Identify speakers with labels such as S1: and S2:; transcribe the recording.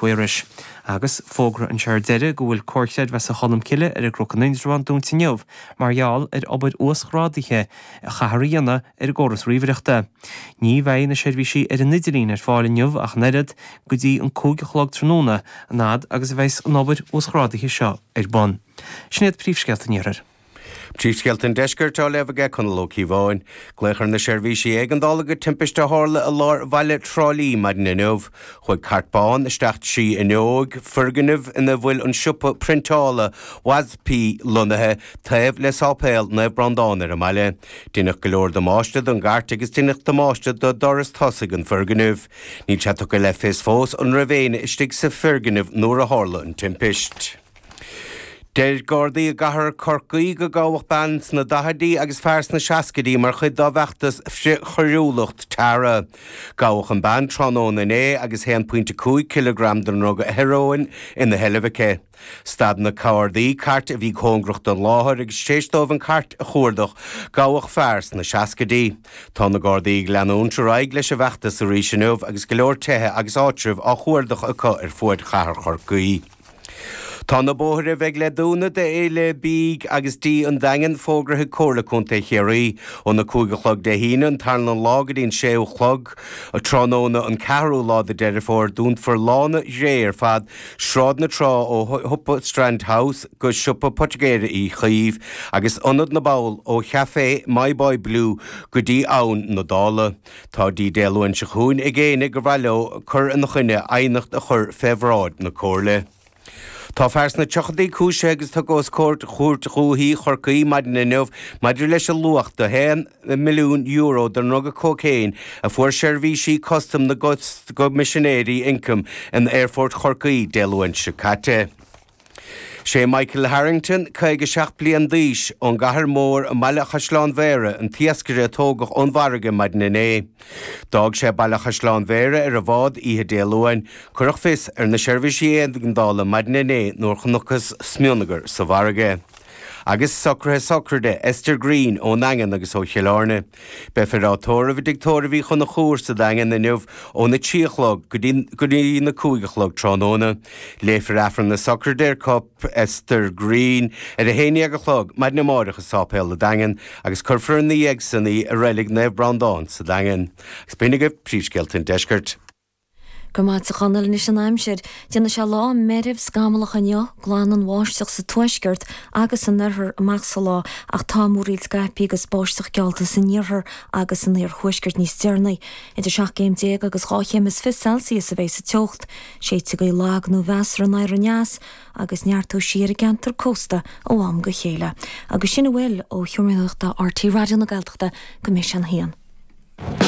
S1: Mhuiris. Agus fógra anseo ar deireadh go bhfuil Comhar Creidmheasa Cholmcille ar an gCnoc in Indreabhán dúnta inniu mar gheall ar obair uasghrádaithe a chaithfear a dhéanamh ar an gcóras ríomhaireachta. Ní bheidh na seirbhísí ar an idirlíon ar fáil inniu ach an oiread go dtí an 5 a chlog tráthnóna, an fhad agus a bheas an obair uasghrádaithe seo ar bun. Sin iad príomhscéalta an Iarthair.
S2: Príomhscéalta an Deiscirt á léamh aige Conall Ó Cíobháin. Glaodh ar na seirbhísí éigeandála go timpiste a tharla i lár bhaile Trá Lí maidin inniu. Chuaigh cairt bán isteach trí fhuinneog foirgnimh ina bhfuil an siopa priontála WASP lonnaithe taobh le Sáipéal Naomh Breandán ar an mbaile. Deineadh go leor damáiste don gcairt agus deineadh damáiste do doras tosaigh an foirgnimh. Níl sé tugtha le fios fós an raibh éinne istigh sa foirgneamh nuair a tharla an timpist. Deir Gardaí i gcathair Chorcaí go gabhadh bean sna daichidí agus fear sna seascaidí mar chuid dá bhfeachtas frith-choiriúlacht Tara. Gabhadh an bean tráthnóna inné agus 1.5 cileagram den ndruga hearóin ina sheilbh aici. Stad na Gardaí cairt a bhí cóngarach don láthair agus tar éis dóibh an chairt a chuardach, gabhadh fear sna seascaidí. Tá na Gardaí ag leanúint ar aghaidh leis an bhfeachtas arís inniu agus go leor tithe agus áitribh á chuardach acu ar fuaid chathair Chorcaí. Tá na bóithre a bheidh le dúnadh d'Fhéile Bídh agus Dí an Daingin fógraithe ag Comhairle Contae Chiarraí. Óna 5 a chlog Dé hAoine an tarna lá go dtí an 6 a chlog tráthnóna an ceathrú lá de Deireadh Fómhair, dúnfar Lána Ghréigh ar fad, Sráid na Trá ó shiopa Strand House go siopa poitigéara Uí Chaoimh agus Ionad na bPoll ó chaifé My Boy Blue go dtí Abhainn na Dála. Tá dtí Dé Luain seo chugainn ag éinne gur mhaith leo cur ina choinne aighneacht a chur fé bhráid na Comhairle. Tá fear sna tríochaidí cúisithe agus tugtha os comhair Chúirt Dhúiche Chorcaí maidin inniu maidir leis an luach de €1 milliún den ndruga cócaon a fuair seirbhísí custaim na gCoimisinéirí Ioncaim in Aerfort Chorcaí Dé Luain seo caite. Sé Michael Harrington, 57 bliain d'aois, ón gCathair Mhór i mBaile Chaisleáin Bhéarra an t-iascaire a tógadh ón bhfarraige maidin inné. D'fhág sé Baile Chaisleáin Bhéarra ar an bhád oíche Dé Luain. Cuireadh fios ar na seirbhísí éigeandála maidin inné nuair chonacthas smionagar sa bhfarraige. Agus socruithe sochraide Esther Greene ón nDaingean agus ó Chill Airne. Beifear á tórramh i dTigh Tórraimh Uí Chonchúir sa Daingean inniu óna 3 a chlog go dtí na 5 a chlog tráthnóna. Léifear Aifreann na sochraide ar chorp Esther Greene ar a 11 a chlog maidin amáireach i Sáipéal an Daingin agus cuirfear ina dhiaidh san í i Reilig Naomh Breandán sa Daingean. Agus b'in agaibh príomhscéalta an deiscirt.
S3: Go raibh maith agat a Chonaill. Anois an aimsir. Déanfaidh sé lá meirbh scamallach inniu, glan an bháisteach sa tuaisceart agus san oirthear amach sa lá ach tá múraíl scaipthe agus báisteach geallta san iarthar agus san iarthuaisceart níos deireanaí. Idir 17 céim agus 2 chéim is 20 Celsius a bheidh sa teocht. Séidfidh gaoth lag nó mheasartha anoir aneas agus neartóidh sí ar an gceantar cósta ó am go chéile. Agus sin a bhfuil ó Sheomra Nuachta RTÉ Raidió na Gaeltachta go mbeidh sé an haon.